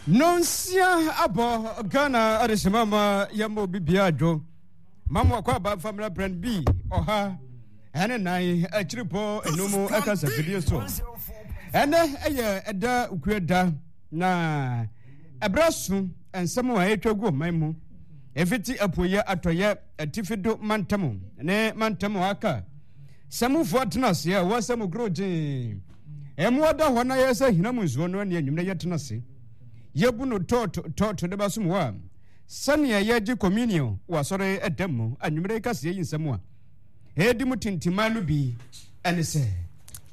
Nonsia abɔ Ghana adehyema ma yɛma obi bia adwo ma mo akɔ aba mfa mmra brand bi ɔha ɛne nan akyiripɔ enum ɛka safidie so. Ɛnɛ ɛyɛ ɛda ukue da na ɛbrɛ so nsɛm a ɛtwa gu ɔman mu ɛfiti apueɛ atɔyɛ atifi do mantam ne mantam aka sɛ mufoɔ atena ase a wɔsɛ mo kuro gyee Mmoa da hɔ na yɛ sɛ hina mu nsuo no ne anwummerɛ yɛtena ase yɛbu no tɔɔto tɔɔto de bɛsom hɔ a sɛnea yɛgye communion wɔ asɔre ɛdam mu anwummerɛ yi kaseɛ yi nsɛm a ɛdi mu tintiman no bi ɛne sɛ.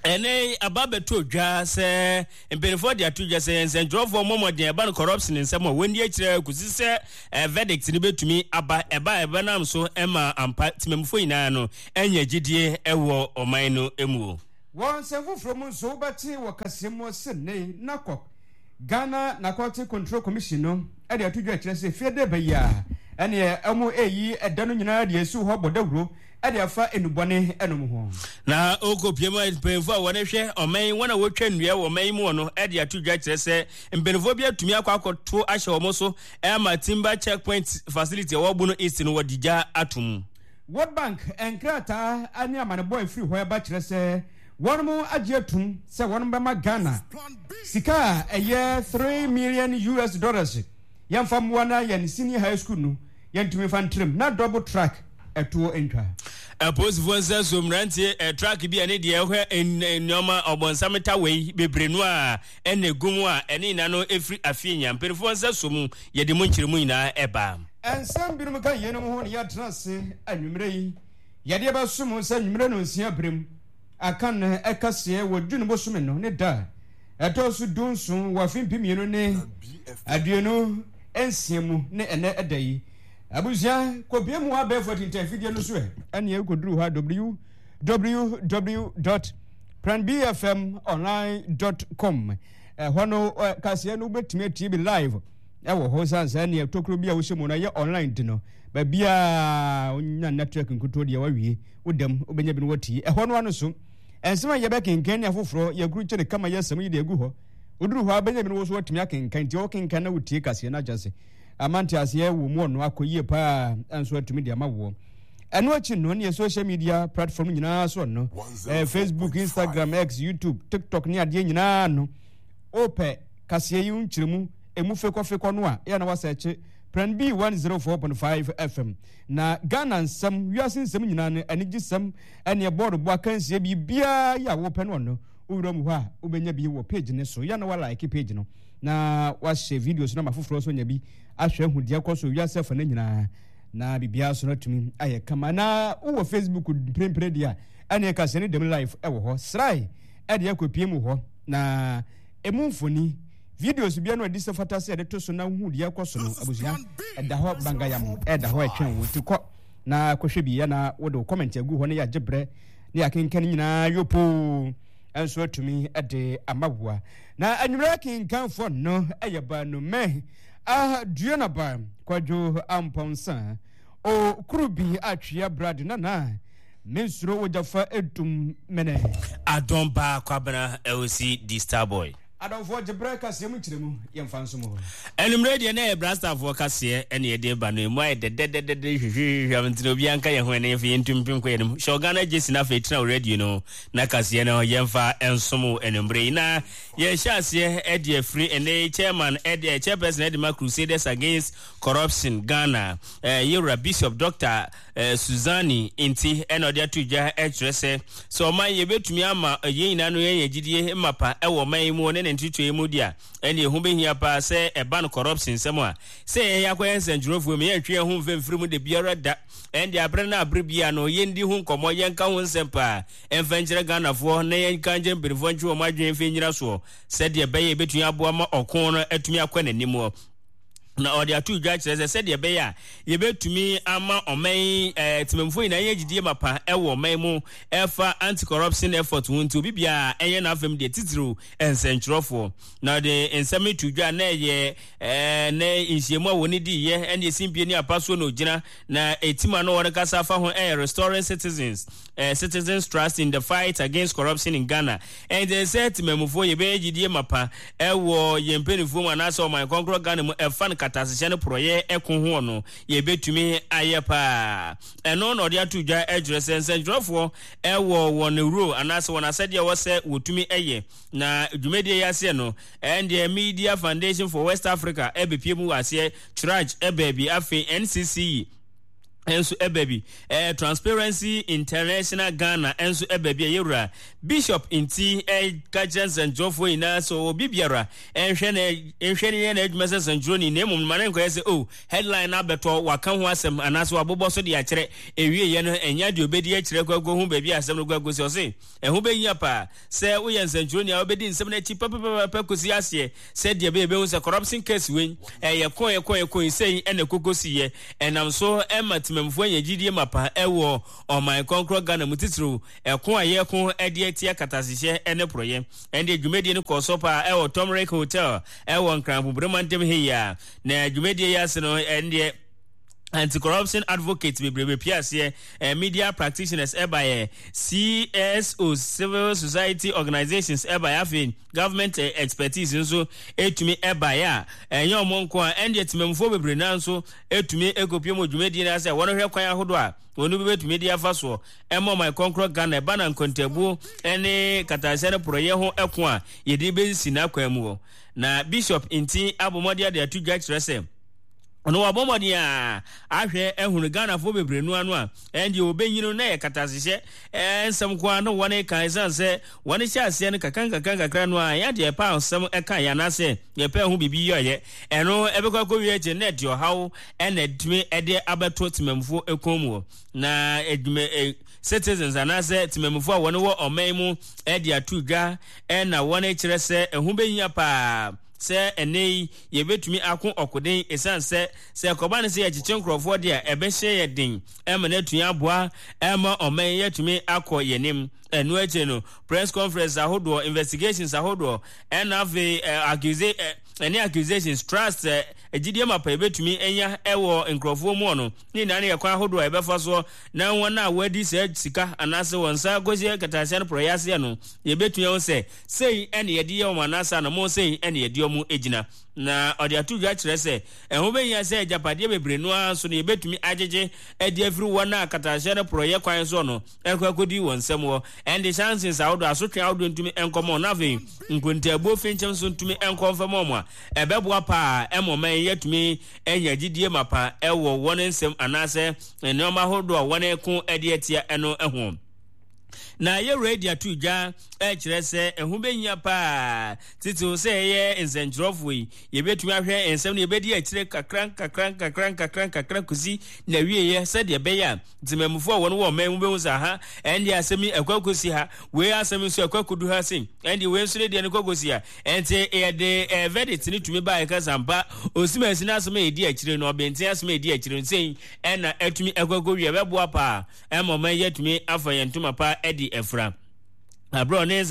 Ɛnɛ yi aba abɛtɔ dwa sɛ mpanimfoɔ de ato dwa sɛ nsɛntwerɛfoɔ mmɔ mmɔden ɛba no corruption nsɛm a wɔnni akyire kɔsi sɛ eh, verdict no bɛtumi aba ɛba a ɛbɛnam so ma ampa temamufoɔ nyinaa no anya gyidie wɔ ɔman no mu. Wɔ nsɛm foforɔ mu nso, wobɛte wɔ kaseɛ mu sɛ nnɛ yi NACOC, Ghana Narcotic Control Commission, no de ato dwa kyerɛ sɛ fie dɛ bɛ yi a ɛneɛ wɔn reyi ɛda no nyinaa de asiw hɔ bɔ dawuro de afa nnubɔne nom ho. Na ɔrekɔpue mu a, mpanyinfoɔ a wɔn hwɛ ɔman yi, wɔn a wɔtwa nnua wɔ ɔman yi mu no de ato dwa kyerɛ sɛ mpanyinfoɔ bi atumi akɔ akɔto ahyɛ wɔn so ama Timber Checkpoint Facility a ɛwɔ Bono East no wɔde gya ato mu. World Bank nkrataa ne amanebɔ a ɛfiri hɔ reba kyerɛ sɛ wɔn agye atum sɛ wɔn bɛma Ghana sika a ɛyɛ 3 million US dollars yɛmfa mmoa na yɛn senior high school no yɛntumi mfa ntrem na double track ɛtoɔ ntwa. Apolisifoɔ nsa so mmeranteɛ eh, truck bi a ne deɛ ɛhwɛ nneɛma ɔbɔnsam tawei bebree no a ɛna egu mu a ɛne nyinaa no ɛfiri afie nya mpanimfoɔ nsa so mu yɛde mu nkyerɛmu nyinaa ɛba. Nsɛm binom ka yeinom ho na yɛatena ase anwummerɛ yi. Yɛde bɛsom wo sɛ anwummerɛ nnɔnsia berɛ mu aka no ɛkaseɛ wɔ June bosome no ne da a ɛtɔ so dunson wɔ afe mpemienu ne 26 mu ne ɛnɛ ɛda yi. Abusua, kɔpie mu abɛɛfo atintan afidie no so ɛ. Ɛneɛ wokɔduru hɔ a www.pranbfmonline.com ɛhɔ no kaseɛ no wobɛtumi atie bi live ɛwɔ hɔ sane sɛ neɛ tokuro bi a wohyɛ mu no ɛyɛ online nti no baabiaa wonya network nkutoo deɛ wawie wodam wobɛnya bi no watie ɛhɔ no ano so ɛnsɛm a yɛbɛkenkan ne afoforɔ yɛkuru kyɛ ne kama yɛ asɛm yi de agu hɔ woduru hɔ a bɛnya bi no wo so watumi akenkan nti wokenkan na wotie kaseɛ no akyɛ se ama nteaseɛ wɔ mu ɔno akɔ yie paa nso atumi de ama woɔ ɛno akyi no neɛ social media platform nyinaa so no eh, facebook instagram x youtube tiktok ne adeɛ nyinaa no wopɛ kaseɛ yi nkyerɛmu emu fekɔfekɔ no a, yɛ na wasɛɛkye Prɛn B 104.5 FM. Na Ghana nsɛm, wiase nsɛm nyinaa no, anigyesɛm, ɛneɛ bɔɔlobɔ akansie, biribiara yɛ a wopɛ no ɔno, wowura mu hɔ a, wobɛnya bi wɔ page no so. Yɛ na walike page no, na wahyɛ videos no ama foforɔ nso anya bi ahwɛ ahu deɛ ɛkɔ so wiase afa no nyinaa, na biribiara so no atumi ayɛ kama. Na wowɔ Facebook mprempren deɛ a, ɛneɛ kaseɛ no dɛm live ɛwɔ hɔ. Srae ɛde akɔpie mu hɔ, na emu mfoni Videos bia no adi sɛ fata sɛ yɛde to so na wohu deɛ ɛkɔ so no abusua ɛda hɔ bangayam ɛda hɔ ɛtwɛn wo nti kɔ na kɔhwɛ bi na wode wo comment agu hɔ na yɛagye berɛ na yɛakenkan nyinaa yopoo nso atumi de ama woa na anwummerɛ akenkanfoɔ no ɛyɛ baanumɛ aduonaba kwadwo ampɔnsa o kuru bi atwea brad nana mensuro wogyafa edum mene adɔn baa kwabena ɛosi di starboy Adɔfoɔ gye berɛ kaseɛ mu nkyerɛmu yɛmfa nsom hɔ. Anwummerɛ deɛ na ɛyɛ Brastafoɔ kaseɛ ɛne yɛde ba no ɛmu ayɛ dɛdɛdɛdɛdɛ hwehwehwehwɛ nti na obiara nka yɛn ho ɛne yɛmfa yɛntu mpem kɔ yɛn anim hyɛ Ghana gyesi na afei tena wo radio no na kaseɛ no yɛmfa nsom wo anwummerɛ yi na yɛhyɛ aseɛ ɛde afiri ɛne chairman ɛde chairperson ɛde ma Crusaders Against Corruption Ghana yɛwura Bishop Dr. Suzanne nti na ɔde ato dwa kyerɛ sɛ, sɛ ɔman yɛbɛtumi ama yɛn nyinaa no yɛanya gyidie mapa wɔ ɔman yi mu ne ne ntotoeɛ mu deɛ a, ɛnneɛ ɛho bɛhia paa sɛ ɛba no corruption nsɛm a, sɛ yɛn akɔyɛ nsɛntwerɛfoɔ mu yɛntwe yɛn ho mfa mfiri mu da biara da. Ɛndeɛ aberɛ no aberɛ biara no yɛndi ho nkɔmmɔ, yɛnka ho nsɛm paa ɛmfa nkyerɛ Ghanafoɔ na yɛnka nkyerɛ mpanimfoɔ ntwe wɔn adwene mfa nnyina soɔ sɛdeɛ ɛbɛyɛ yɛbɛtumi aboa ma ɔko no atumi akɔ n'anim. Na ɔde ato dwa kyerɛ sɛ sɛdeɛ ɛbɛyɛ a yɛbɛtumi ama ɔman yi eh, temammufoɔ nyinaa anya gyidie mapa wɔ ɔman mu ɛfa anti-corruption effort ho nti obi biara ɛnyɛ n'afam deɛ titiriw nsɛntwerɛfoɔ. Na ɔde nsɛm yi to dwa na ɛyɛ eh, ne nhyiamu a wɔne diiɛ ɛne esimpie ne apasoɔ na ɔgyina na ɛtim ano wɔn kasa afa ho ɛyɛ restoring citizens eh, citizens trust in the fight against corruption in Ghana. Ɛnti sɛ temamufoɔ yɛbɛyɛ gyidie mapa ɛwɔ yɛn mpanimfoɔ mu anaasɛ ɔman kɔnkorɔ Ghana mu ɛfa no katasehyɛ ne porɔyɛ ɛko hoɔ no yɛbɛtumi ayɛ paa. Ɛno na ɔde ato dwa ɛkyerɛ sɛ nsɛntwerɛfoɔ ɛwɔ wɔn role anaasɛ wɔn asɛdeɛ ɛwɔ sɛ wɔtumi ɛyɛ na dwumadie yi aseɛ no ɛndeɛ Media Foundation for West Africa ɛbɛpie mu wɔ aseɛ CHRAJ ɛbaa bi afei NCCE nso ɛba bi ɛɛ Transparency International Ghana nso ɛba bi a yɛwura Bishop nti ɛka kyerɛ nsɛntwerɛfoɔ nyinaa sɛ obi biara nhwɛ na nhwɛ ne yɛ n'adwuma sɛ nsɛntwerɛni na mmom ma ne nkɔyɛ sɛ oh headline no abɛtɔ waka ho asɛm anaasɛ wabobɔ so de akyerɛ ewieɛ no ɛnyɛ deɛ obɛdi akyerɛ kɔ akɔhu baabi a asɛm no kɔ akɔsi ɔse ɛho bɛhia paa sɛ woyɛ nsɛntwerɛni a wobɛdi nsɛm no akyi pɛpɛpɛpɛ kɔsi aseɛ sɛdeɛ ɛbɛyɛ bɛhu sɛ corruption case wei ɛyɛ ko ɛko ɛko sei ɛna ɛkɔkɔsiiɛ ɛnam so ɛma temammufoɔ anya gyidie mapa ɛwɔ ɔman kɔnkorɔ Ghana mu titiriw ɛko a yɛko ɛde atia katasehyɛ ɛne porɔyɛ. Ɛnde dwumadie no kɔɔ so paa ɛwɔ Tomric Hotel ɛwɔ Nkran Bobere mantam ha yi a na dwumadie yi ase no ɛndeɛ anti-corruption advocates bebrebe pie aseɛ eh, media practitioners ɛbaeɛ CSO civil society organizations ɛbaeɛ afei government eh, expertise nso ɛtumi ɛbaeɛ a ɛnyɛ ɔmo nko a ɛndeɛ temamufoɔ bebree naa nso ɛtumi ɛkɔpie mu dwumadie no asɛ wɔn hwɛ kwan ahodoɔ a wɔn bi bɛtumi de afa soɔ ɛma ɔman kɔnkorɔ Ghana ɛba na nkontabuo ɛne katahyɛ no porɔyɛ ho ɛko a yɛde bɛsi n'akwan mu hɔ na Bishop nti abɔmmɔde ade ato dwa kyerɛ sɛ ɔno wabɔ mmɔden a ahwɛ ahunu Ghanafoɔ bebree no ano a ɛndeɛ wɔbɛnyi no na yɛ katasehyɛ nsɛm nko ara na wɔn ka ɛsiane sɛ wɔn hyɛ aseɛ no kakra nkakra nkakra no a ɛyɛ deɛ ɛpɛ asɛm ɛka yɛ anaasɛ yɛpɛ ho biribi yɛyɛ ɛno ɛbɛkɔ akɔwie akyi na ɛde ɔhaw ɛna ɛtumi ɛde abɛto temammufoɔ ɛkɔn mu na adwuma citizens anaasɛ temammufoɔ a wɔn wɔ ɔman mu ɛde ato dwa ɛna wɔn kyerɛ sɛ ɛho bɛhia paa sɛ ɛnnɛ yi yɛbɛtumi ako ɔkoden ɛsiane sɛ sɛ ɛkɔba no sɛ yɛkyekye nkurɔfoɔ deɛ a ɛbɛhyɛ yɛ den ɛma no atumi aboa ɛma ɔman yi atumi akɔ yɛn anim. Ɛno akyire no press conference ahodoɔ, investigations ahodoɔ ɛna afei accuse ɛne accusations, trust, gyidie mapa yɛbɛtumi anya ɛwɔ nkurɔfoɔ mu no ne nyinaa no yɛ kwan ahodoɔ a yɛbɛfa soɔ na wɔn a wɔadi saa sika anaasɛ wɔn nsa akɔsi kɛtɛaseɛ no porɔeɛ aseɛ no yɛbɛtumi ahu sɛ Sei na yɛde yɛ wɔn anaasɛ anammɔn sei na yɛde wɔn gyina. Na ɔde ato dwa kyerɛ sɛ ɛho bɛhia sɛ agyapadeɛ bebree no ara nso no yɛbɛtumi agyegye de afiri wɔn a katahyɛ no porɔeɛ kwan soɔ no ɛkɔ akɔdi wɔn nsam hɔ. Ɛnde sanctions ahodoɔ, asotwe ahodoɔ ntumi nkɔma wɔn na afei nkontaabuo finkyim nso ntumi nkɔ mfɛma wɔn a, ɛbɛboa paa ma ɔman yi atumi anya gyidie mapa wɔ wɔn nsɛm anaasɛ nneɛma ahodoɔ a wɔreko de atia no ho. Na yɛwura adi ato dwa kyerɛ sɛ ɛho bɛhia paa titiriw sɛ yɛyɛ nsɛnkyerɛwfoɔ yi, yɛbɛtumi ahwɛ nsɛm no yɛbɛdi akyire kakra nkakra nkakra nkakra nkakra kɔsi n'awieeɛ sɛdeɛ ɛbɛyɛ a ntemanmufoɔ a wɔn wɔ ɔman mu bɛhu sɛ aha ɛndeɛ asɛm yi ɛkɔ akɔsi ha, wei asɛm nso ɛkɔ akɔdu ha sei, ɛndeɛ wei nso ne deɛ no kɔ akɔsi ha. Ɛnti yɛde eh, verdict no tumi baa yɛka sɛ ampa osimasi no asɛm a ɛdi akyire no, ɔbɛnten asɛm a ɛdi akyire no sei ɛna atumi ɛkɔ akɔwie, ɛbɛboa paa ɛma ɔman yi atumi afa yɛn ntoma pa adi afura. Aberɛ ɔne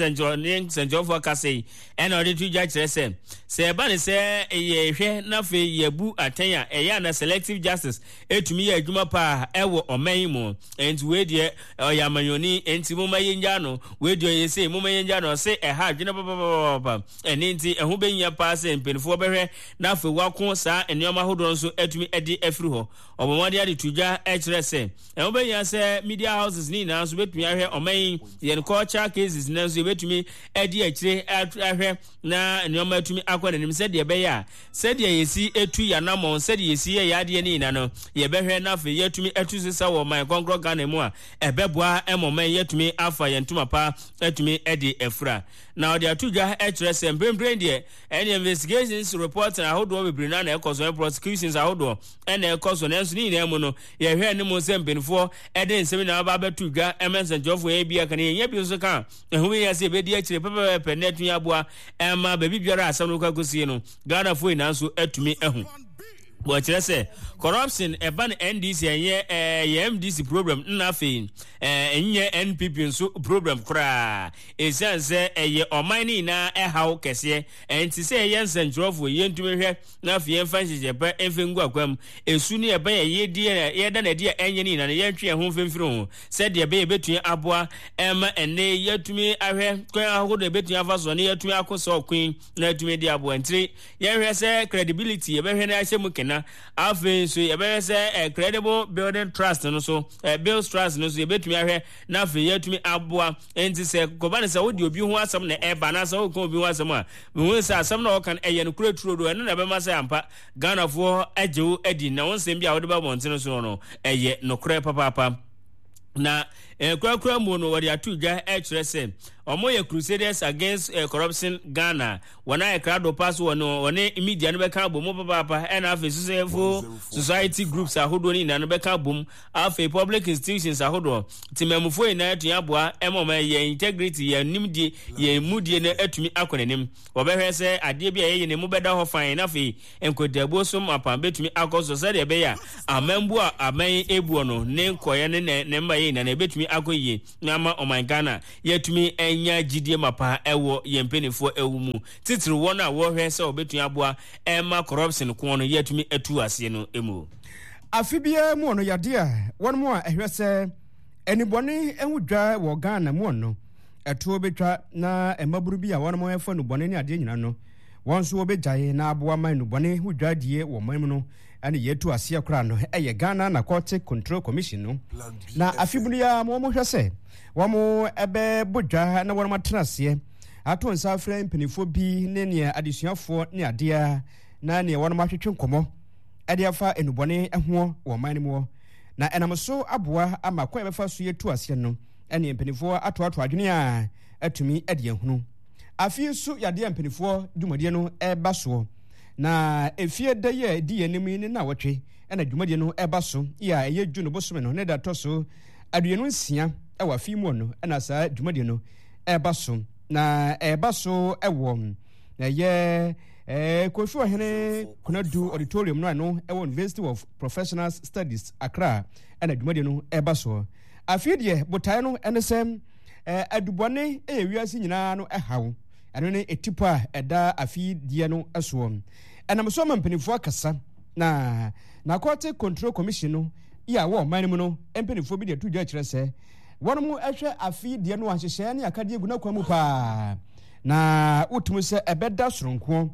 nsɛnkyerɛwfoɔ kasa yi ɛna ɔde to dwa kyerɛ sɛ sɛ ɛba ne sɛ yɛhwɛ na afei yɛbu atɛn a ɛyɛ ana selective justice ɛtumi yɛ adwuma paa ɛwɔ ɔman yi mu. Ɛnti wei deɛ ɔyɛ amanyɔni ɛnti momma yɛngya no, wei deɛ ɔyɛ sei momma yɛngya no, ɔse ɛha adwene papapapapa. Ɛne nti ɛho bɛhia paa sɛ mpanimfoɔ bɛhwɛ na afei wako saa nneɛma ahodoɔ nso atumi de afiri hɔ. Ɔbɔ mmɔden de to dwa kyerɛ sɛ ɛho bɛhia sɛ media houses no nyinaa nso bɛtumi ahwɛ ɔman yi yɛn culture cases no nso yɛbɛtumi adi akyire ahwɛ na nneɛma atumi akɔ n'anim sɛdeɛ ɛbɛyɛ a sɛdeɛ yɛsi tu yɛn anammɔn sɛdeɛ yɛsi yɛ yɛn adeɛ no nyinaa no yɛbɛhwɛ na afei yɛatumi atu sesa wɔ ɔman kɔnkorɔ Ghana mu a ɛbɛboa ma ɔman yi atumi afa yɛn ntoma pa atumi de afura. Na ɔde ato dwa kyerɛ sɛ mprempren deɛ ɛne investigations reporting ahodoɔ bebree no na ɛkɔ so, prosecutions ahodoɔ na ɛkɔ so, nanso ne nyinaa mu no yɛhwɛ anim sɛ mpanimfoɔ de nsɛm nyinaa ba abɛto dwa ma nsɛnkyerɛwfoɔ yɛn bi aka no yɛnya bi nso ka a ɛho hia sɛ yɛbɛdi akyire pɛpɛpɛpɛ na atumi aboa ɛma baabi biara asɛm no kɔ akɔsie no Ghanafoɔ nyinaa nso atumi ahu. Wɔkyerɛ sɛ corruption ɛba no NDC ɛnyɛ ɛyɛ MDC problem nna afei ɛnyɛ NPP nso problem koraa ɛsiane sɛ ɛyɛ ɔman no nyinaa ɛhaw kɛseɛ ɛnti sɛ ɛyɛ nsɛnkyerɛfoɔ yɛntumi hwɛ na afei yɛmfa nhyehyɛ pa ɛmfa ngu akwan mu ɛsu ne ɛbɛn ɛyɛ di yɛda no adi a ɛnyɛ no nyinaa no yɛntwe yɛn ho mfimfini ho sɛdeɛ ɛbɛyɛ ɛbɛtumi aboa ɛma ɛnne yɛatumi ahwɛ kwan ahodoɔ ɛbɛtumi afa so ne yɛatumi ako sɛ ɔko yi na atumi de aboa ntiri yɛnhwɛ sɛ credibility yɛbɛhwɛ no ahyɛ mu kena afei nso yɛbɛhwɛ sɛ eh, credible building trust no so eh, build trust no so yɛbɛtumi ahwɛ na afei yɛatumi aboa nti sɛ kɔba no sɛ wode obi ho asɛm na ɛba anaasɛ woka obi ho asɛm a mehu sɛ asɛm na ɔka no ɛyɛ no korɛ turo do ɛno na ɛbɛma sɛ ampa Ghanafoɔ agye wo adi na wo nsɛm bi a wode ba mmɔntene so no ɛyɛ nokorɛ papaapa na eh, korakora mu no wɔde ato dwa kyerɛ sɛ wɔyɛ Crusaders Against eh, Corruption Ghana wɔn ayɛ krado pa so wɔne wɔne media no bɛka abom papaapa ɛna afei civil society groups ahodoɔ no nyinaa no bɛka abom afei public institutions ahodoɔ temamufoɔ nyinaa atumi aboa ɛma wɔn yɛn integrity yɛn nimdie yɛn mudie no atumi akɔ n'anim. Wɔbɛhwɛ sɛ adeɛ bi a yɛyɛ no mu bɛda hɔ fann na afei nkontaabuo so mapa bɛtumi akɔ so sɛdeɛ ɛbɛyɛ a amambuo a aban yi rebuo no ne nkɔeɛ ne ne ne mmaeɛ nyinaa no ɛbɛtumi akɔ yie na ama ɔman Ghana yɛatumi anya gyidie mapa wɔ yɛn mpanimfoɔ ɛwo mu titiriw wɔn a wɔhwɛ sɛ wɔbɛtumi aboa ɛma corruption ko no yɛatumi atu aseɛ no mu. Afe biara mu no yadeɛ a wɔn a ɛhwɛ sɛ anibɔne ho dwa wɔ Ghana mu no ɛtoɔ bɛtwa na mmabunu bi a wɔnom ɛfa nnubɔne ne adeɛ nyina no, wɔn nso wɔbɛgyae na aboa ma nnubɔne ho dwadie wɔ ɔman mu no ɛne yɛtu aseɛ koraa no ɛyɛ Ghana Narcotic Control Commission no. Na afe bunu yi ara ma wɔhwɛ sɛ wɔn ɛbɛbɔ dwa na wɔnom atena aseɛ ato nsa afrɛ mpanimfoɔ bi ne neɛ adesuafoɔ ne adeɛ na neɛ wɔnom atwetwe nkɔmmɔ ɛde afa nnubɔne ho wɔ ɔman no mu na ɛnam so aboa ama kwan a yɛbɛfa so yɛtu aseɛ no ɛne mpanimfoɔ atoatoa adwene a atumi de ahunu. Afe yi nso yadeɛ a mpanimfoɔ dwumadie no ɛreba soɔ. Na efie da yi a ɛdi yɛn anim yi ne nnawɔtwe ɛna dwumadie no ɛreba so yi a ɛyɛ June bosome no ne da ɛtɔ so 26 ɛwɔ afe yi mu no ɛna saa dwumadie no ɛreba so. Na ɛreba so ɛwɔ ɛyɛ ɛɛ Kofi Ɔhene Konadu Auditorium no a ɛno ɛwɔ University of Professional Studies Accra ɛna dwumadie no ɛreba soɔ. Afei deɛ botaeɛ no ne sɛ adubɔne yɛ wiase nyinaa no haw. Ɛno ne etipɔ a ɛda afe yi deɛ no soɔ. Ɛnam so ama mpanimfoɔ akasa na Narcotic Control Commission no yi a wɔ ɔman no mu no mpanimfoɔ bi de ato dwa kyerɛ sɛ wɔn hwɛ afe yi deɛ no a nhyehyɛeɛ ne akadeɛ gu n'akwan mu paa na wotumi sɛ ɛbɛda soronkoɔ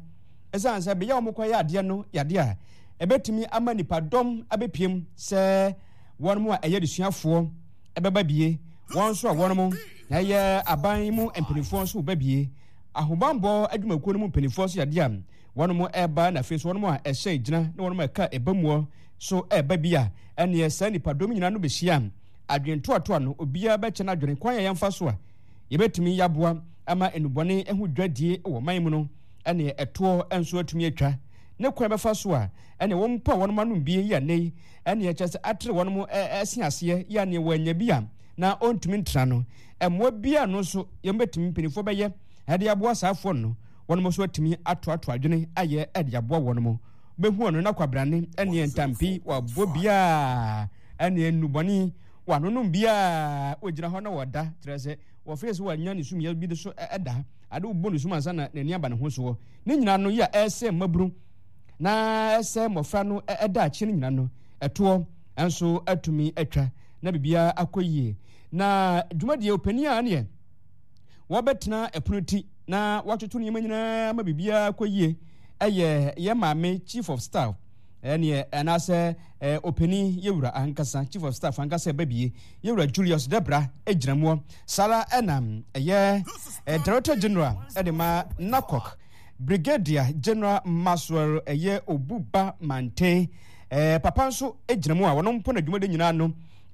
ɛsiane sɛ bea a wɔkɔyɛ adeɛ no yɛ adeɛ a ɛbɛtumi ama nipadɔm abɛpiem sɛ wɔn a ɛyɛ adesuafoɔ bɛba bie, wɔn nso a wɔn ɛyɛ aban mu mpanimfoɔ nso ba bie, ahobammɔ adwumakuo no mu mpanimfoɔ nso yadeɛ a wɔn ɛreba na afei nso wɔn a ɛhyɛn gyina ne wɔn a ɛka ɛba muɔ so ɛreba bi a ɛneɛ saa nipadɔm nyinaa no bɛhyia adwene toatoa no obiara bɛkyɛ n'adwene kwan a yɛmfa so a yɛbɛtumi yɛaboa ama nnubɔne ho dwadie wɔ man mu no ɛneɛ ɛtoɔ nso atumi atwa ne kwan bɛfa so a ɛneɛ wɔn mpo a wɔn anom bie yi a nnɛ yi ɛneɛ kyerɛ sɛ atere wɔn ɛse aseɛ yi a neɛ wɔanya bi a na ɔntumi ntena no mmoa bi a no nso yɛn bɛtumi mpanimfoɔ bɛyɛ ɛde aboa saa afoɔ no wɔn nso atumi atoato adwene ayɛ ɛde aboa wɔn mo bɛhu ɔno na kwabrane ɛneɛ ntampi wɔabɔ biaa ɛneɛ nnubɔne wɔanonom biaa wɔgyina hɔ na wɔda kyerɛ sɛ wɔfrɛ sɛ wɔanya ne sumyɛ bi de so ɛda ade wobɔ ne sum ansa na n'ani aba ne ho soɔ ne nyinaa no yi a ɛsɛ mmabunu na ɛsɛ mmɔfra no daakye no nyina no ɛtoɔ nso atumi atwa na biribiara akɔ yie. Na dwumadie ɔpanin a neɛ wɔbɛtena ɛpono ti na wɔatoto nneɛma nyinaa ma biribiara akɔ yie ɛyɛ yɛ maame chief of staff ɛneɛ anaasɛ ɔpanin yɛwura ankasa chief of staff ankasa ɛba bie yɛwura Julius Debra gyina muɔ saa ɛna ɛyɛ director general ɛde ma NACOC Brigadier General Maxwell ɛyɛ Obuba Mante eh, papa nso gyina mu a wɔn mpo na dwumadi nyinaa no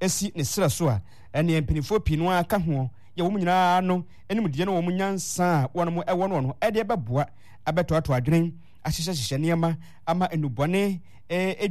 si ne serɛ so a ɛneɛ mpanimfoɔ pii no ara ka ho yɛ wɔn nyinaa no animdeɛ ne wɔn nyansa a wɔn ɛwɔ no no ɛde ɛbɛboa abɛtoatoa adwene ahyehyɛhyehyɛ nneɛma ama nnubɔne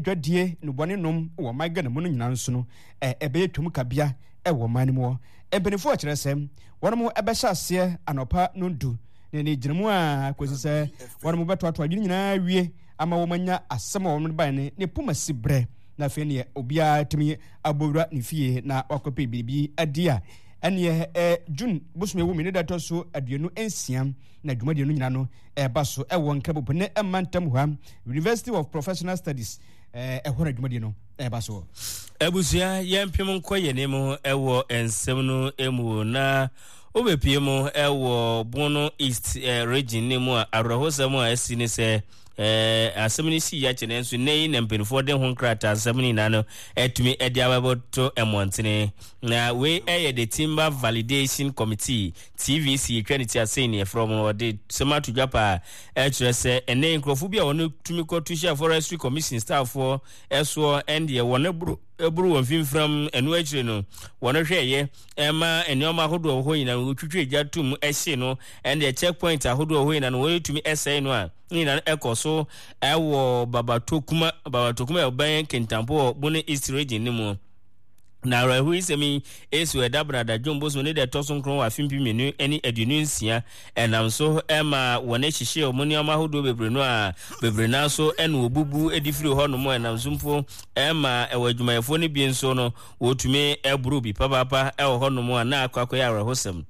dwadie nnubɔne nom wɔ ɔman Ghana mu no nyinaa nso no ɛbɛyɛ twam kabea ɛwɔ ɔman no mu. Mpanimfoɔ kyerɛ sɛ wɔn ɛbɛhyɛ aseɛ anɔpa nondu. Na ɛne gyina mu a kɔsi sɛ wɔn bɛtoatoa adwene nyinaa wie ama wɔn anya asɛm a wɔn bae no ne poma si berɛ. Na afei neɛ obiara tumi abɔwura ne fie na wakɔpɛ biribi adi a ɛneɛ ɛ June bosome wɔ mu ne da ɛtɔ so 26 na dwumadie no nyina no ɛba so ɛwɔ Nkrabopo ne ɛma ntam hɔ University of Professional Studies ɛhɔ na dwumadie no ɛba so. Abusua yɛmpem nkɔ yɛn anim ɛwɔ nsɛm no mu na wobɛpie mu ɛwɔ Bono East region no mu a awerɛhosɛm a asi ne sɛ asɛm no sii akyɛ nanso nnɛ yi na mpanimfoɔ de ho nkrataa nsɛm no nyinaa no atumi de abɛbɔto mmɔntene. Na wei ɛyɛ the Timber Validation Committee, TVC, yɛtwa ne ti asɛn ne yɛfrɛ wɔn, wɔde sɛm ato dwa paa ɛkyerɛ sɛ ɛnnɛ yi nkurɔfoɔ bi a wɔn tumi kɔto hyɛ Forestry Commission stafffoɔ ɛsoɔ ɛndeɛ wɔn boro ɛboro wɔn mfimfiram. Ɛno akyire no wɔn hwɛɛyɛ ɛma nneɛma ahodoɔ wɔ hɔ nyinaa no wɔtwitwa gya tom ɛhye no, ɛndeɛ checkpoint ahodoɔ wɔ hɔ nyinaa no wɔtumi ɛsɛe no a ne nyinaa no ɛkɔ so ɛwɔ Babatokuma Babatokuma ɛbɛn Kintampo wɔ Bono East Region no mu. Na awerɛhoyisɛm yi esi wɔ ɛda Brada John bosom ne da ɛtɔ so nkron wɔ afe 2026. Ɛnam so ma wɔn hyehyee wɔn nneɛma ahodoɔ bebree no a bebree no ara so na wɔbubu de firi hɔnom. Ɛnam so mpo ma ɛwɔ adwumayɛfoɔ no bi nso no wɔtumi boro bi papaapa wɔ hɔnom a na akɔ akɔyɛ awerɛhosɛm.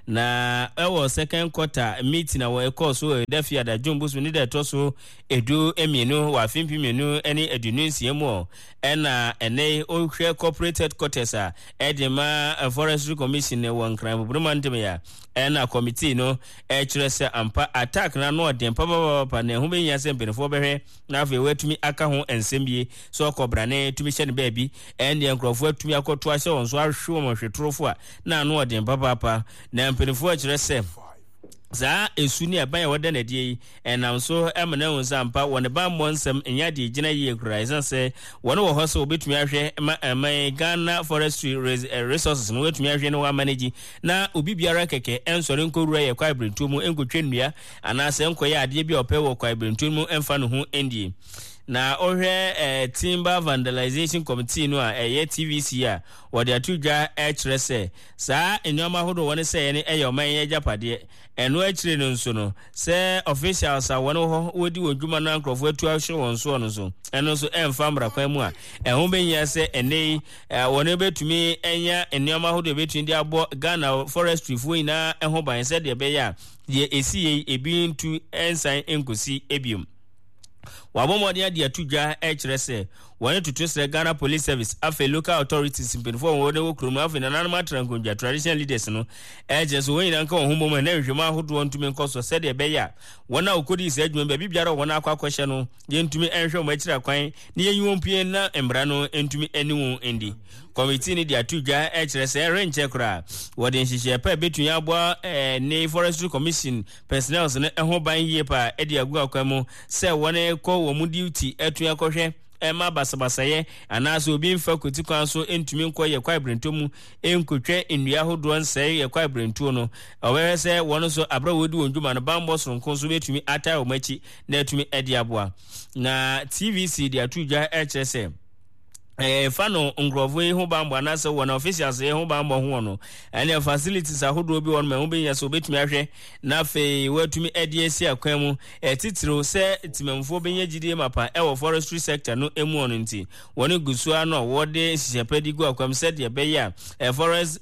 Na ɛwɔ second quarter meeting a ɛkɔɔ so wɔ ɛda Fiada John bosom ne da ɛtɔ so 12 wɔ afe 2026 mu Ɛna ɛnnɛ yi wohwɛ corporate headquarters a ɛde ma Forestry Commission wɔ Nkran Boboro mantam yi a, ɛna committee no ɛkyerɛ sɛ ampa attack no ano ɔden papapapa na ɛho bɛhia sɛ mpanimfoɔ bɛhwɛ na afei wɔatumi aka ho nsɛm bie sɛ ɔkɔbrane tumi hyɛ no baabi ɛndeɛ nkurɔfoɔ atumi akɔto ahyɛ wɔn so ahwe wɔn hwetorofo a na ano ɔden papaapa na mpanimfoɔ kyerɛ sɛ saa esu ne ɛban a wɔda no adie yi Ɛnam so ma no ahu sɛ ampa wɔn bammɔ nsɛm nyɛ ade a egyina yie koraa esiane sɛ wɔn wɔ hɔ sɛ wɔbɛtumi ahwɛ ma ɛman Ghana Forestry Resources no wɔatumi ahwɛ na wɔamanegyi na obi biara kɛkɛ ɛnsɔre nkɔwura yɛ kwaebirentuo mu nkɔtwa nnua anaasɛ nkɔyɛ adeɛ bi a ɔpɛ wɔ kwaebirentuo mu mfa ne ho ndie. Na wohwɛ eh, Timber Vandalization Committee no a ɛyɛ TVC a wɔde ato dwa kyerɛ sɛ saa nneɛma ahodoɔ wɔn sɛeɛ no yɛ ɔman yi agyapadeɛ. Ɛno akyire no nso no, sɛ officials a wɔn wɔ hɔ wɔdi wɔn dwuma no a nkurɔfoɔ atu ahyɛ wɔn soɔ no nso, ɛno nso ɛmfa mmara kwan mu a, ɛho bɛhia sɛ ɛnnɛ yi wɔn bɛtumi anya nneɛma ahodoɔ ɛbɛtumi de abɔ Ghana forestry foɔ nyinaa ho ban sɛdeɛ ɛbɛyɛ a deɛ ɛsi yei ebi ntu nsan nkɔsi ebiom. Wɔabɔ mmɔden ade ato dwa kyerɛ sɛ wɔne toto srɛ Ghana Police Service, afei local authorities mpanyinfoɔ a wɔn wɔ kurom, afei nananom atra nkonnwa, traditional leaders no, ɛkyerɛ sɛ wɔn nyinaa nka wɔn ho mmom na nhwehwɛmu ahodoɔ ntumi nkɔ so sɛdeɛ ɛbɛyɛ a wɔn a wɔkɔdii saa adwuma baabi biara wɔn akɔ akɔhyɛ no yɛntumi nhwɛ wɔn akyiri akwan na yɛnyi wɔn pue na mmara no ntumi ne wɔn ndi. Kɔmitii no de ato dwa kyerɛ sɛ ɛrenkyɛ koraa wɔde nhyehyɛe pa a ɛbɛtumi aboa ne Forestry Commission personnels no ho ban yie paa de agu akwan mu sɛ wɔn kɔ wɔn duty atumi akɔhwɛ ɛma basabasayɛ anaasɛ obi mfa kwati kwan so ntumi nkɔ yɛ kwaebirentuo mu nkotwa nnua ahodoɔ nsɛe yɛ kwaebirentuo no. Ɔbɛhwɛ sɛ wɔn nso aberɛ a wɔredi wɔn dwuma no bammɔ soronko nso bɛtumi atae wɔn akyi na atumi de aboa. Na TVC de ato dwa kyerɛ sɛ ɛfa no nkurɔfoɔ yi ho bammɔ anaasɛ wɔn officials yi ho bammɔ ho no ɛne facilities ahodoɔ bi wɔn ma ɛho bɛnya sɛ wɔbɛtumi ahwɛ na afei wɔatumi de asi akwan mu ɛtitiriw sɛ temammufoɔ bɛnya gyidie mapa ɛwɔ forestry sector no mu ɔno nti wɔn gu so ano a wɔde nhyehyɛ pa de gu akwan mu sɛdeɛ ɛbɛyɛ a forest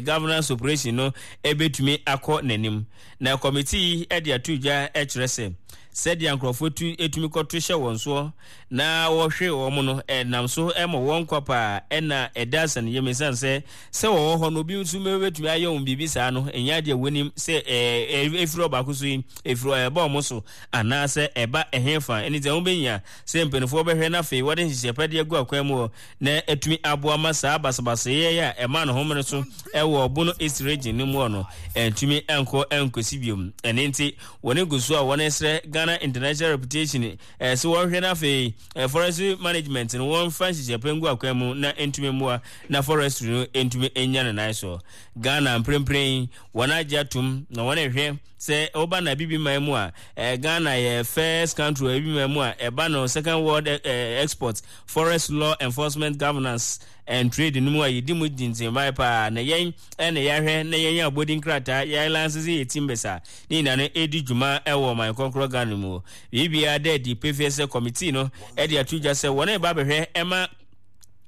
governance operation no ɛbɛtumi akɔ n'anim. Na kɔmitii yi de ato dwa kyerɛ sɛ sɛdeɛ nkurɔfoɔ tu tumi kɔto hyɛ wɔn soɔ na wɔhwe wɔn no nam so ma wɔn nkwa paa na ɛda asɛnniiɛ mu ɛsiane sɛ sɛ wɔwɔ hɔ no obi nso bɛtumi ayɛ wɔn biribi saa no ɛnyɛ adeɛ wɔnim sɛ ɛfiri ɔbaako so yi ɛfiri ɛba wɔn so anaasɛ ɛba ɛhefa ɛne sɛ wɔbɛnya sɛ mpanimfoɔ bɛhwɛ na afei wɔde nhyehyɛ pa de agu akwan mu hɔ na atumi aboa ma saa basabasayɛ yi a ɛmaa ne homene so wɔ Bono East Region no mu no antumi ankɔ ankɔsi biom. Ɛno nti, wɔn gu so a wɔresrɛ Ghana International Reputation sɛ wɔnhwɛ na afei forestry management no wɔmfa nhyehyɛ pa ngu akwan mu na ɛntumi mmoa na forestry no ntumi nnya ne nan so. Ghana mprempren yi, wɔn agye atom na wɔrehwɛ sɛ woba na Abibiman mu a, Ghana yɛ first country wɔ Abibiman mu a ɛba no second world export forest law enforcement governance. and Trade no mu a yɛdi mu gyingyimbae paa na yɛn na yɛahwɛ na yɛn abɔdin krataa yɛn lanse sɛ yɛ timbers a ne nyinaa no ɛdi dwuma wɔ ɔman kɔnkorɔ Ghana mu. Biribiara da adi pefee sɛ kɔmitii no de ato dwa sɛ wɔn reba abɛhwɛ ɛma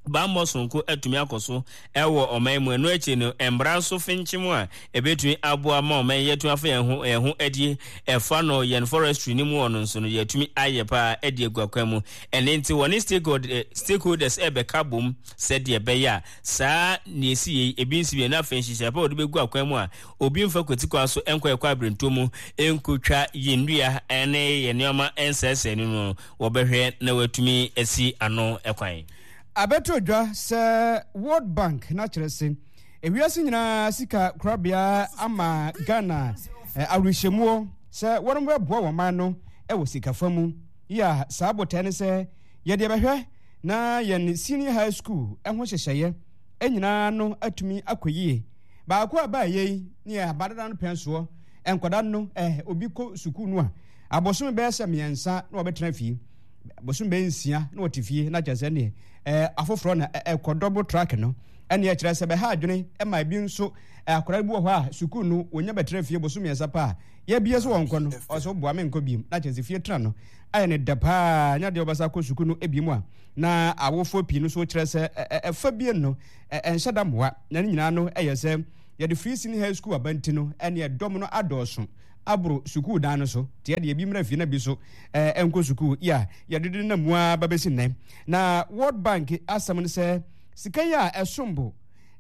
bammɔ sononko atumi akɔ so wɔ ɔman mu. Ɛno akyi no, mmara nso fenkyem a ɛbɛtumi aboa ma ɔman yi atumi afa yɛn ho yɛn ho adie ɛfa no yɛn forestry no mu ɔno nso no yɛatumi ayɛ paa de agu akwan mu. Ɛno nti wɔne stakeholders ɛrebɛka bom sɛdeɛ ɛbɛyɛ a saa nea ɛsi yei ebi nsi bio na afei nhyehyɛe pa a wɔde bɛgu akwan mu a obi mfa kwati kwan so nkɔ ɛkɔ abirentuo mu nkotwa yɛn nnua ne yɛn nneɛma nsɛesɛe no no wɔbɛhwɛ na wɔatumi asi ano kwan. Abɛto dwa sɛ World Bank na kyerɛ se ewiase nyinaa sika korabea ama Ghana awerɛhyɛmuo sɛ wɔn bɛboa wɔn man no wɔ sikafa mu. Yi a saa botae ne sɛ yɛde bɛhwɛ na yɛn senior high school ho nhyehyɛeɛ nyinaa no atumi akɔ yie. Baako a ɛbaa yei ne yɛ abadada no pɛn soɔ, nkwadaa no eh, obi kɔ sukuu no a, abosome bɛyɛ sɛ mmiɛnsa na wɔbɛtena fie, abosome bɛyɛ nsia na wɔte fie, na kyerɛ sɛ neɛ eh, afoforɔ na ɛkɔ double track no, ɛneɛ kyerɛ sɛ bɛha adwene ma ebi nso eh, akwadaa bi wɔ hɔ a sukuu no wɔnya bɛtena fie bosome mmiɛnsa paa yɛbie so wɔnkɔ no, ɔsɛ woboa me nkɔ biem, na kyerɛ sɛ fie tena no ayɛ ne dɛ paa, nya deɛ wɔbɛsa akɔ sukuu no ebiem a, na awofoɔ pii no nso kyerɛ sɛ ɛfa bie no ɛnhyɛ da mmoa, na ne nyinaa no yɛ sɛ yɛde free senior high school aba nti no ɛneɛ dɔm no adɔɔso aboro sukuu dan no so, nti ɛdeɛ ebi mmra fie na bi so ɛnkɔ sukuu yi a yɛde de nam mu ara ba bɛsi nnɛ. Na World Bank asɛm no sɛ sika yi a ɛsom bo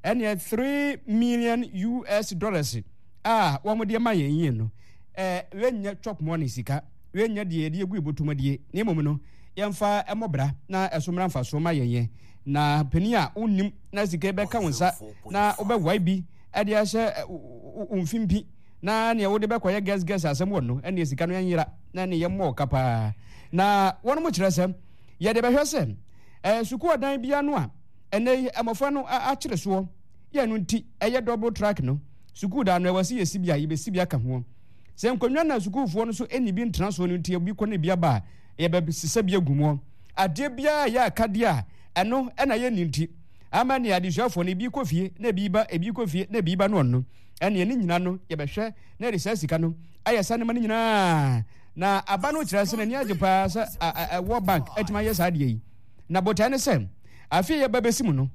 ɛneɛ 3 million US dollars a wɔn de ma yɛn yie no ɛɛ wɛnyɛ chop money sika, wɛnyɛ deɛ yɛde egu ebotom adie, na mmom no yɛmfa ɛmɔ bra na ɛso mmra mfasoɔ ma yɛn yɛn. Na panin a wonnim na sika yi bɛka wo nsa na wobɛwae bi de ahyɛ wo mfimpi na nea wode bɛkɔyɛ gɛsgɛs asɛm wɔ no ɛneɛ sika no ɛnyera na ɛne yɛmmɔ ɔka paa. Na wɔnom kyerɛ sɛ yɛde bɛhwɛ sɛ eh, sukuu ɔdan bia no a ɛnɛ yi mmɔfra no akyere soɔ yɛ no nti ɛyɛ double track no sukuu dan no ɛwɔ sɛ yɛsi bi a yɛbɛsi bi aka hoɔ. Sɛ nkonnwa na sukuufoɔ no so ɛnni bi ntena soɔ no nti obi kɔ ne bi aba a yɛbɛsesa bi agu mu. Adeɛ biara a ɛyɛ akadeɛ a ɛno na yɛnni nti ama nea adesuafoɔ no ebi kɔ fie na ebi ba, ebi kɔ fie na ebi ba no ɔno ɛneɛ ne nyina no yɛbɛhwɛ na yɛde saa sika no ayɛ saa nneɛma no nyinaa. Na aba no kyerɛ sɛ n'ani agye paa sɛ World Bank atumi ayɛ saa adeɛ yi. Na botae ne sɛ afe a yɛba bɛsi mu no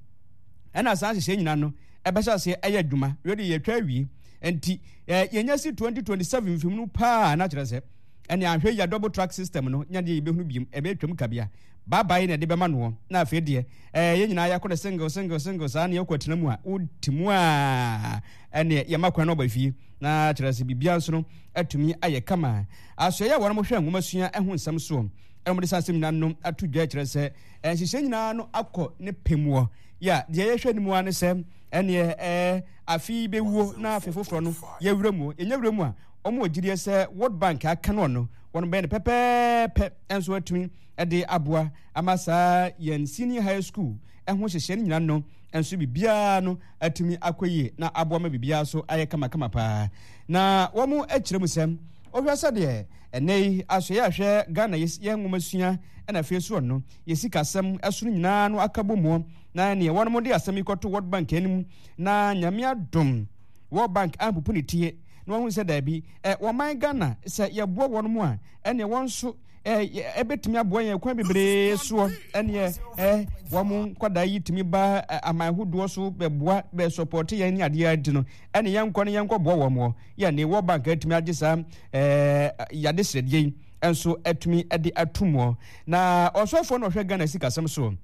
ɛna saa nhyehyɛe nyinaa no ɛbɛhyɛ aseɛ ɛyɛ adwuma. Wei de yɛtwa awie nti yɛnya si 2027 mfim no paa na kyerɛ sɛ Ɛne anhwɛ yie a double track system no nya deɛ yɛbɛhunu biom, ɛbɛtwam kabea. Bye bye na ɛde bɛma noɔ. Na afei deɛ ɛɛ yɛn nyinaa yɛakɔ no single single single saa na yɛkɔ atena mu a, wote mu a ɛneɛ yɛma kwan na ɔba fie. Na kyerɛ sɛ biribiara nso no atumi ayɛ kama. Asoɛeɛ a wɔn hwɛ nwomasua ho nsɛm soɔ ɛna wɔde saa asɛm nyinaa no ato dwa kyerɛ sɛ nhyehyɛe nyinaa no akɔ ne pɛ muɔ. Ya deɛ yɛhwɛ no mu ara ne sɛ ɛneɛ ɛɛ afe yi bɛwuo na afe foforɔ no yɛwura mu. Yɛnya wura mu a Wɔn wɔ gyidie sɛ World Bank aka no no, wɔn bɛyɛ no pɛpɛɛpɛ nso atumi de aboa ama saa yɛn senior high school ɛho nhyehyɛɛ no nyinaa no nso biribiara no atumi akɔ yie na aboa ma biribiara nso ayɛ kamakama paa. Na wɔn akyerɛ mu sɛ wohwɛ sɛdeɛ ɛnɛ yi asoɛeɛ a hwɛ Ghana yɛ nwomasua ɛna afei soɔ no yɛ sikasɛm ɛso no nyinaa no aka bɔ muɔ na neɛ wɔn de asɛm yi kɔto World Bank anim na Nyame adom World Bank ampupu ne tie na wɔahu sɛ daabi, ɛ, wɔman Ghana, sɛ yɛboa wɔn mu a, ɛneɛ wɔn nso ɛ, ɛbɛtumi aboa yɛn kwan bebree soɔ, ɛneɛ ɛ, wɔn nkwadaa yi tumi ba aman hodoɔ so bɛboa, bɛsɔpɔte yɛn ne adeɛ nti no, ɛne yɛnkɔ ne yɛnkɔboa wɔn wɔ, yɛ ne World Bank atumi agye saa ɛ, yade srɛdeɛ yi nso atumi de ato muɔ. Na ɔsɔfoɔ na ɔhwɛ Ghana sikasɛm soɔ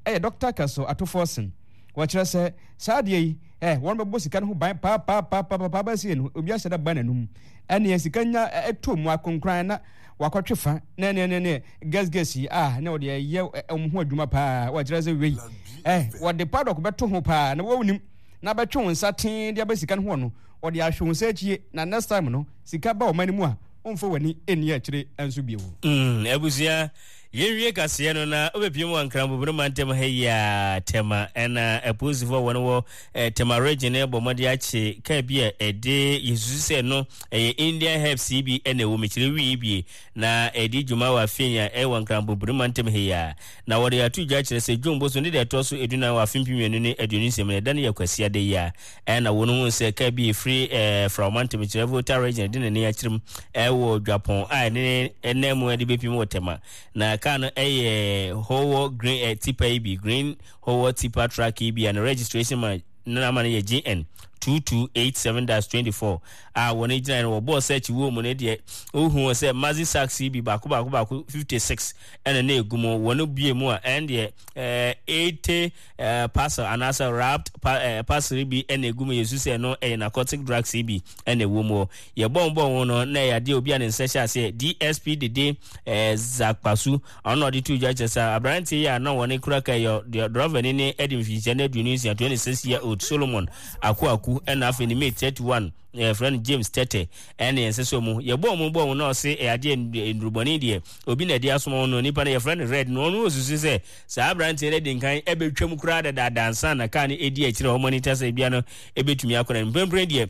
ɛyɛ Dr. Castle Ato Forson. Wɔkyerɛ sɛ saa adeɛ yi, ɛ, wɔn bɛbɔ sika no ho ban paapaapaapaapa bɛsie no, obi ahyɛ da ba n'anum. Ɛneɛ sika nya ɛtɔ mu akonkran na wakɔtwe fa na ɛneɛ ne ne gɛsgɛs yi a na wɔde ɛyɛ wɔn ho adwuma paa. Wɔkyerɛ sɛ wei, ɛ, wɔde paddock bɛto ho paa na wɔnim na bɛtwe wɔn nsa tee de aba sika no ho no, wɔde ahwɛ wɔn nsa akyie na next time no sika ba wɔn anim a, wɔmfa wɔn ani nni akyire nso bio. Mm, abusua. Yɛnwie kaseɛ no na wobɛpie mu wɔ Nkranbobere mantam ha yi a Tema ɛna apolisifoɔ a wɔn wɔ eh, Tema region no bɔ mmɔden akye kaa bi a ɛde yɛsusu sɛ no ɛyɛ Indian herbs yi bi ɛna ɛwɔ mu kyerɛ wii bi na ɛdi dwuma wɔ afei a ɛwɔ Nkranbobere mantam ha yi a na wɔde ato dwa kyerɛ sɛ June boso ne deɛ ɛtoɔ so edunan wɔ afe 2026 mu no ɛda no yɛ Kwasiada yi a Ɛna wɔn hu sɛ kaa bi efiri ɛɛ Frao mantam kyerɛ Volta region de n'ani akyerɛ ɛwɔ Dwapɔn a ɛne ɛnan mu ɛde bepim wɔ Tema. Na kaa no ɛyɛ Howo green ɛ tipa yi bi, green Howo tipa truck yi bi a ne registration ma ne nama no yɛ GN 2287-24 a wɔn gyina no wɔbɔɔ search wɔ mu no deɛ wohu sɛ Mazi sacks yi bi baako baako baako 56 ɛna na egu mu. Wɔn bie mu a ɛn deɛ ɛɛ 80 eh, parcel anaasɛ wrapped pa, eh, parcel bi ɛna egu mu. Yɛsu sɛ ɛno ɛyɛ narcotic drugs yi bi ɛna ɛwɔ mu. Yɛbɔ mbɔ ho no na ɛyɛ adeɛ obi a ne nsa hyɛ aseɛ DSP Dede eh, Zakpasu ɔno na ɔde to dwa kyerɛ sɛ aberanteɛ yi a na wɔne kura ka yɛ drɔva ni ne ɛde mfinhyia no 26, 26 year old Solomon Akuaku ɛna afei ne mate 31 yɛfrɛ no James Tete ɛne yɛn sɛ mu yɛbɔ ɔmo bɔ ɔmo na ɔse ɛyɛ adeɛ nnurubɔne deɛ obi na ɛde asoma ɔno nipa no yɛfrɛ no Red no ɔno osusu sɛ saa aberanteɛ no adi nkan ɛbɛtwam koraa dadaada ansa na kaa no ɛdi akyire a wɔn ani ta sɛ ebia no ɛbɛtumi akɔ no mprempren deɛ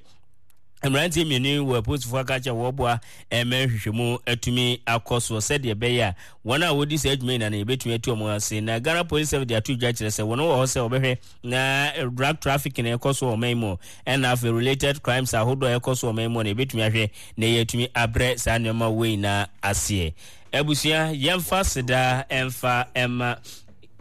mmeranteɛ mmienu yi wɔ apolisifoɔ aka kyerɛ wɔboa ɛmɛ nhwehwɛmu atumi akɔ soɔ sɛdeɛ ɛbɛyɛ a wɔn a wɔdi saa adwuma nyinaa no yɛbɛtumi atu wɔn ase. Na Ghana Police Service de ato dwa kyerɛ sɛ wɔn wɔ hɔ sɛ wɔbɛhwɛ na drug trafficking a ɛkɔ so wɔ ɔman mu ɛna afei related crimes ahodoɔ a ɛkɔ so wɔ ɔman mu no yɛbɛtumi ahwɛ na yɛatumi abrɛ saa nneɛma wei nyinaa aseɛ. Abusua, yɛmfa seda ɛmfa ɛma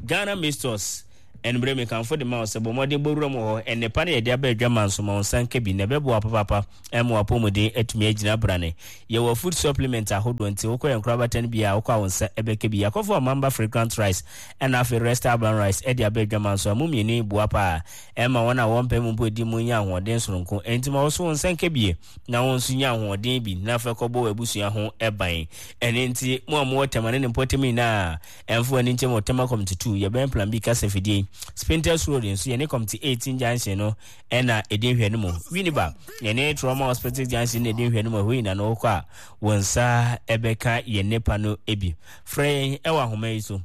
Ghana Mistors. Ɛnumere mekamfo de ma wo sɛ bɔ mmɔden bɔ wuram wɔ hɔ. Nnepa no yɛde aba adwama nso ma wo nsa nka bi na ɛbɛboa papaapa ɛma w'apɔmuden atumi agyina brane. Yɛwɔ food supplement ahodoɔ nti wokɔ yɛn nkorabata no bi a wokɔ a wo nsa ɛbɛka bi. Yɛakɔfa Mamba fragrant rice ɛna afei Resta brown rice ɛde aba adwama nso a mo mmienu yi boa paa ɛma wɔn a wɔmpɛ mu mpo di mu nya ahoɔden soronko. Ɛnti ma wo so wo nsa nka bie na wo nso nya ahoɔden bi na afei kɔbɔ w'abusua ho ban. Ɛno nti mo a mowɔ Tema ne ne mpɔtam nyinaa ɛmfa w'ani nkyɛm wɔ Tema Committee 2 yɛbɛn Plan B kasa fidie yi. Spintex Road nso yɛne Committee 18 junction no ɛna ɛdi nhwɛ no mu. Winneba yɛne Trauma Hospital junction na ɛdi nhwɛ no mu. Ɛhɔ nyinaa no wokɔ a wo nsa ɛbɛka yɛn nnepa no bi. Frɛ yɛn ɛwɔ ahoma yi so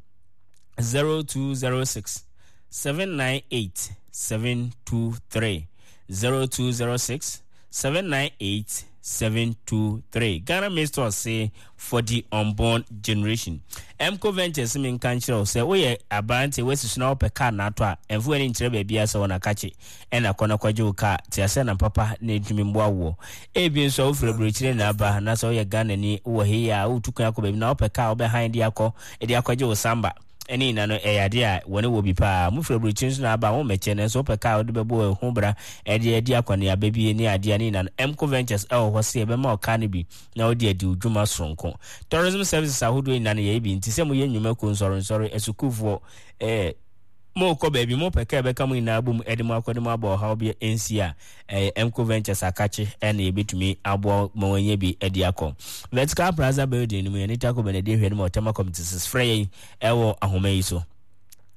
0206 798 723 0206 798 723. Ghana Misters se for the unborn generation. Mco Ventures me nka nkyerɛ wo sɛ woyɛ aberante woasi so na wopɛ kaa na atɔ a ɛmfa w'ani nkyerɛ baabiara sɛ wɔn akakye ɛna kɔ na kɔgye wo kaa te asɛ na papa na ɛntumi mmoa woɔ. Ebi nso a wofiri aburokyire na aba na sɛ woyɛ Ghanani wowɔ hei a wotu kwan akɔ baabi na wopɛ kaa wobɛhan de akɔ de akɔgye wo samba ɛne nyina no ɛyɛ adeɛ a wɔne wɔ bi paa. Mofiri aburokyire nso na aba a wommɛkyɛ nanso wopɛ kaa a wode bɛbɔ ho bra ɛde adi akɔneaba bi ne adeɛ a ne nyina no Mco Ventures ɛwɔ hɔ sɛ yɛbɛma wo kaa no bi na wode adi wo dwuma soronko. Tourism services ahodoɔ nyina no yɛyɛ bi nti sɛ moyɛ nnwuma kuo nsɔrensɔre, asukuufoɔ, eh, mokɔ baabi mopɛ kaa ɛbɛka mo nyinaa bom de mo akɔ de mo aba ɔhaw bi nsi a, ɛyɛ Mco Ventures akakye ɛna yɛbɛtumi aboa ma wɔanya bi de akɔ. Vertical Plaza Building no mu yɛne Taco Bell na ɛdi nhwɛ no ma Ɔtɛma Committee sis frɛ yɛn ɛwɔ ahoma yi so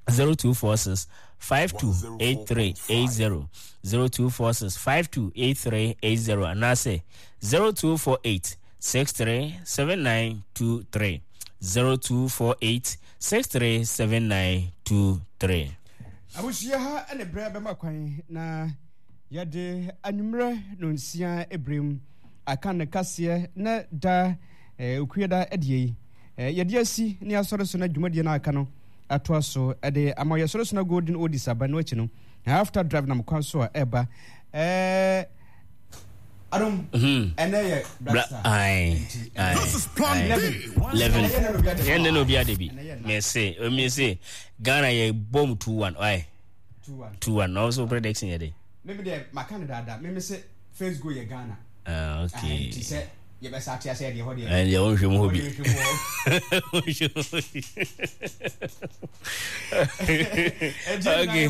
0246 528380 0246 528380 anaasɛ 0248 637923 0248 637923. Abusua ha ne berɛ bɛma kwan na yɛde anwummerɛ nonsia berɛ aka ne kaseɛ na da eh, okuada deɛ yi eh, yɛde asi ne asɔre so na dwumadie no aka no atoa so de ama yɛsɔre so na golden oldies aba no akyi no after drive nam kwan so a ɛba eh, Adom, ɛnɛ yɛ Black Star. Aye, aye. This is Plan B. 11. Ɛnɛ na obi ade bi. Mese, mese Ghana yɛ bom 2-1. Aye. 2-1. 2-1. Na also prediction yɛ de. Meme deɛ maka no daadaa. Meme se first goal yɛ Ghana. Ah, okay. Nti sɛ yɛbɛsa ate asɛ deɛ hɔ deɛ. Ɛn deɛ wonhwɛ mu hɔ bi. Wonhwɛ mu hɔ. Okay.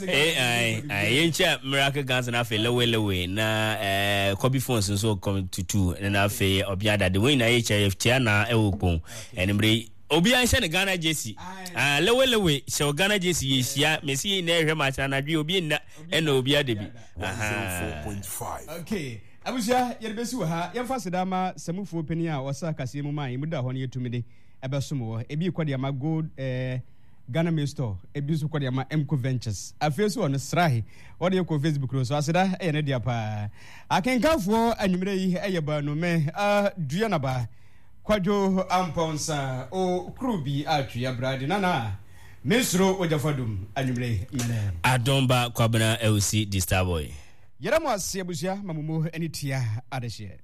Eh, aye, aye. Yɛnkyɛ Miracle Guns na afei Lewe Lewe na eh, Kobe Phones nso kɔm tutu na afei ɔbea dade. Wɔn nyinaa yɛkyɛ yɛkyɛ na ɛwɔ kpon. Ɛnumere yi obiara nhyɛ ne Ghana jersey. Ah, Lewe Lewe hyɛ Ghana jersey yɛhyia. Mesi yɛn nyinaa yɛhwɛ match anadwo obi nna ɛna obi ada bi. Aha. 104.5. Okay. Abusua, yɛde bɛsi wɔ ha. Yɛmfa aseda ma Samufoɔ panin a ɔsa kaseɛ mu maa yɛn mu da hɔ no yɛtumi de. ɛbɛsom wɔ. Ebi kɔ de ama Gold eh, Ghana Mail Store, ebi nso kɔ de ama Mco Ventures. Afei nso ɔno Srahe, ɔde kɔ Facebook no so. Aseda ɛyɛ ne dea paa. Akenkanfoɔ anwummerɛ yi ɛyɛ baanu me uh, Duanaba Kwadwo Ampɔnsa o kuru bi atwe abrade nana mensuro ogyafa dum anwummerɛ yi mene. Adonba Kwabena Ewusi di Starboy. Yɛda mo ase abusua ma mo mu ani tua adehyeɛ.